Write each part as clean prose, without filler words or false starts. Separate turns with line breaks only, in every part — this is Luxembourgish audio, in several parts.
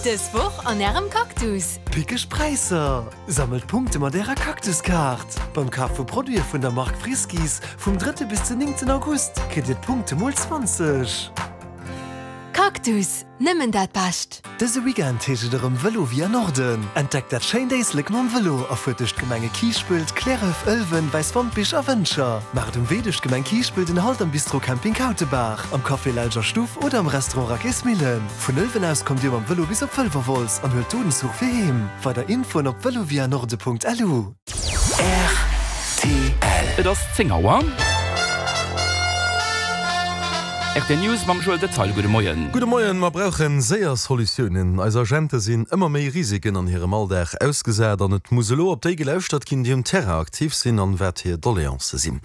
Dës Woch an Ärem Cactus!
Pickeg Präisser! Sammelt Punkte mat Ärer Cactus-Kaart! Beim Kaf vu Produite vun der Mark Friskies vum drëtte bis den néngten August kritt Dir d'Punkte mol 20.
Cactus, nëmmen dat Bescht!
Dëse Weekend heescht et erëm Vëlo via Norden. Entdeckt dat schéint Éislek mam Vëlo a fuert duerch d'Gemenge Kiischpelt, Cliärref, Ëlwen, Wäiswampich a Wëntger. Maacht um Wee duerch d'Gemeng Kiischpelt en Halt am Bistro Camping Kautebaach, am Café Lelger Stuff oder am Restaurant Rackésmillen. Vun Ëlwen aus kommt Dir mam Vëlo bis op Wëlwerwolz an huelt do den Zuch fir heem. Weider Infoen op velovianorde.lu.
Rtl.
Et ass 10 Auer. Rtl News mam Joël Detaille. Gudde Moien.
Gudde Moien. Mer brauche séier Solutiounen. Eis Agente sinn ëmmer méi Risiken an hirem Alldag ausgesat an et muss elo op déi gelauschtert ginn, déi um Terrain aktiv sinn an wat hir Doleancë sinn.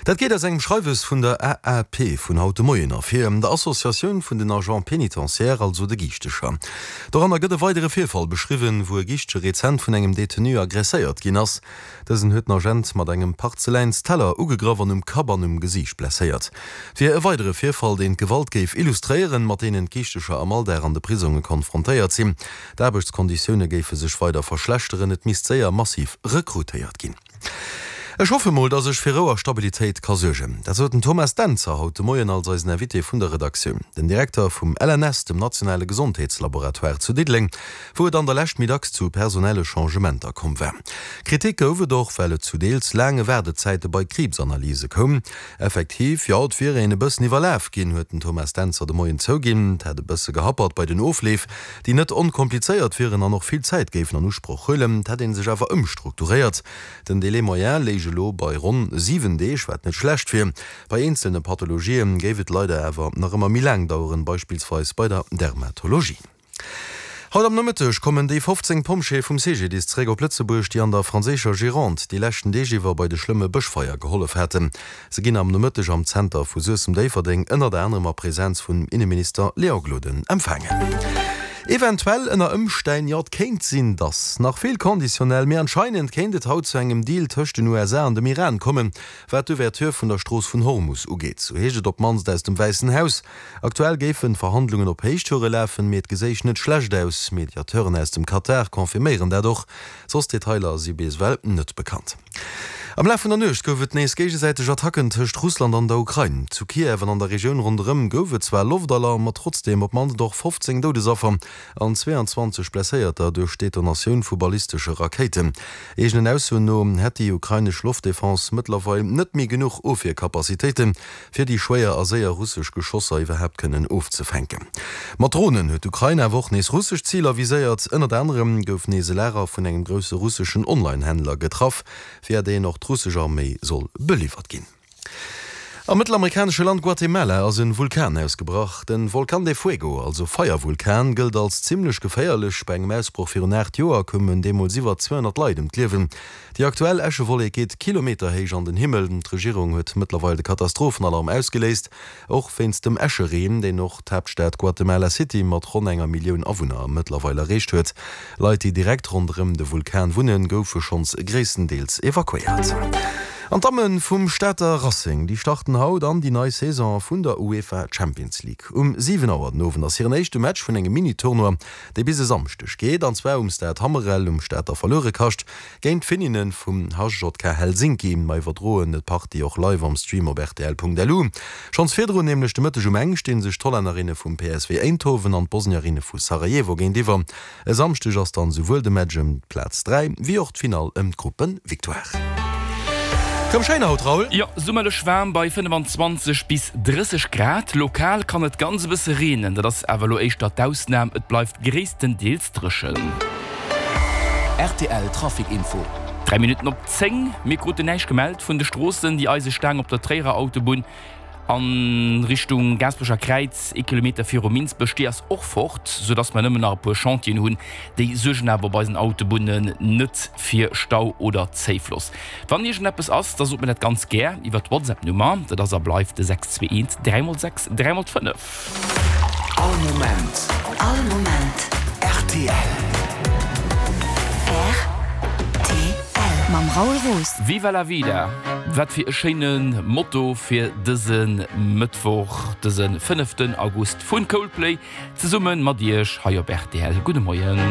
Dat geet aus engem Schreiwes vun der AAP vun haut de Moien ervir, der Associatioun vun den Agents pénitentiaires, also de Giichtecher. Doranner gëtt e weidere Virfall beschriwwen, wou e Giischtche rezent vun engem Detenu aggresséiert ginn ass. Dësen huet den Agent mat engem Parzeläinsteller ugegraff an um Kapp an um Gesiicht blesséiert. Et wier e weidere Virfall, deen d'Gewalt géif illustréieren, mat deenen d'Giichtecher am Alldag an de Prisonge konfrontéiert sinn. D'Aarbechtskonditioune géife sech weider verschlechteren, et misst séier massiv rekrutéiert ginn. Ech hoffe mol, dass ech fir Rou a Stabilitéit ka suergen. Dat sot den Thomas Dentzer haut de Moien als eisen Invité vun der Redaktioun. Den Direkter vum LNS, dem nationale Gesondheetslaboratoire zu Diddeleng, wou et an der Lescht méi dacks zu personelle Changementer komm war. Kritik gouf et och, well et zu deels laange Waardezäite bei Kriibsanalyse koum. Effektiv, jo, et wier een e bëssen iwwerlaf ginn, huet den Thomas Dentzer de Moien zouginn. Et hätt e bësse gehappert bei den Ofleef, déi net onkomplizéiert wieren an och vill Zäit géifen an Usproch huelen. Et hätt ee sech awer ëmstrukturéiert. Den Délai moyen léich elo bei ronn 7 Deeg, wat net schlecht wier. Bei eenzelne Pathologië géif et leider awer nach ëmmer méi laang daueren, beispillsweis bei der Dermatologie. Haut am Nomëtteg kommen déi 15 Pompjeeë vum CGDIS zeréck op Lëtzebuerg, déi an der franséischer Gironde déi leschten Deeg iwwer bei de schlëmme Bëschfeier gehollef haten. Se ginn am Nomëtteg am Zenter vu Suessem-Déifferdeng ënnert anerem a Presenz vun Inneminister Léon Gloden empfaangen. Eventuell, ënner Ëmstänn, jo et kéint sinn, dass, nach vill conditionnel, mee anscheinend kéint et haut zu engem Deal tëscht den USA an dem Iran kommen, wat d'Ouverture vun der Strooss vun Hormus ugeet. Sou heescht et op d'mannst aus dem Wäissen Haus. Aktuell géifen d'Verhandlungen op Héichtoure lafen, mee et geséich net schlecht aus. Mediateuren aus dem Katar confirméieren dat och. Soss Detailer si bis ewell net bekannt. Am Laf vun der Nuecht gouf et nees géigesäiteg Attacken tëscht Russland an der Ukrain. Zu Kiew an an der Regioun ronderëm gouf et zwar Loftalarm, ma trotzdeem op d'mannst och 15 Doudesaffer an 22 Blesséierter duerch d'Detonatioun vu ballistesche Rakéiten. Eegenen Aussoen no hätt déi ukrainesch Loftdefense mëttlerweil net méi genuch Ofwierkapazitéiten, fir déi schwéier a séier russesch Geschosser iwwerhaapt kënnen ofzefänken. Mat Dronen huet d'Ukrain awer och nees russesch Ziler viséiert. Ënnert anerem gouf nees e Lager vun engem grousse russeschen Online-Händler getraff, via deen och d'russesch Arméi soll beliwwert ginn. Am mëttelamerikanesche Land Guatemala ass e Vulkan ausgebrach. De Volcán de Fuego, also Feiervulkan, gëllt als zimmlech geféierlech. Bei engem Ausbroch virun 8 Joer koumen deemools iwwer 200 Leit ëm d'Liewen. Déi aktuell Äschewollek geet kilometerhéich an den Himmel. D'Regierung huet mëttlerweil de Katastrophenalarm ausgeléist, och wéinst dem Äschereen, deen och d'Haaptstad Guatemala City mat ronn enger Millioun Awunner mëttlerweil erreecht huet. Leit, déi direkt ronderëm de Vulkan wunnen, goufe schonns gréisstendeels evakuéiert. An d'Damme vum Stater Racing, déi starten haut an déi nei Saison vun der UEFA Champions League. Um 7 Auer den Owend ass hiren éischte Match vun engem Mini-Tournoi, dee bis e Samschdeg geet, an zwar um Stade Hammerel um Stater Verluerekascht. Géint d'Finninnen vum HJK Helsinki. Mer iwwerdroen d'Partie och live am Stream op rtl.lu. Schonns virdrun, nämlech de Mëtteg um eng, stinn sech d'Hollännerinne vum PSV Eindhoven an d'Bosnierinne vu Sarajevo géintiwwer. E Samschdeg ass dann souwuel de Match ëm d'Plaz 3 wéi och d'Finall ëm d'Gruppevictoire. Rëm schéin haut, Raoul?
Jo, summerlech waarm bei 25 bis 30 Grad. Lokal kann et ganz e bësse reenen, dat ass awer elo éischter d'Ausnam, et bleift gréisstendeels dréchen.
Rtl Trafic Info.
3 Minutten op 10, Mir kruten näischt gemellt vun de Stroossen. Déi Eisestaang op der Tréierer Autobunn a Richtung Gaasperecher Kräiz, ee Kilometer viru Minsbech, déi ass och fort, soudass mer nëmmen nach e puer Chantieren hunn. Déi suergen awer op eisen Autobunnen net fir Stau oder Zéifloss. Wann iergendeppes ass, da sot mir dat ganz gär iwwer d'Whatsapp-Nummer. Dat ass a bleift de 621 3 x 6 3 x 5.
All Moment.
All Moment.
Rtl.
Rtl. Mam Raoul Roos. Roos.
Viva la vida! Wat fir e schéine Motto fir dëse Mëttwoch, dëse fënneften August vun Coldplay, zesumme mat Iech hei op rtl. Gudde Moien.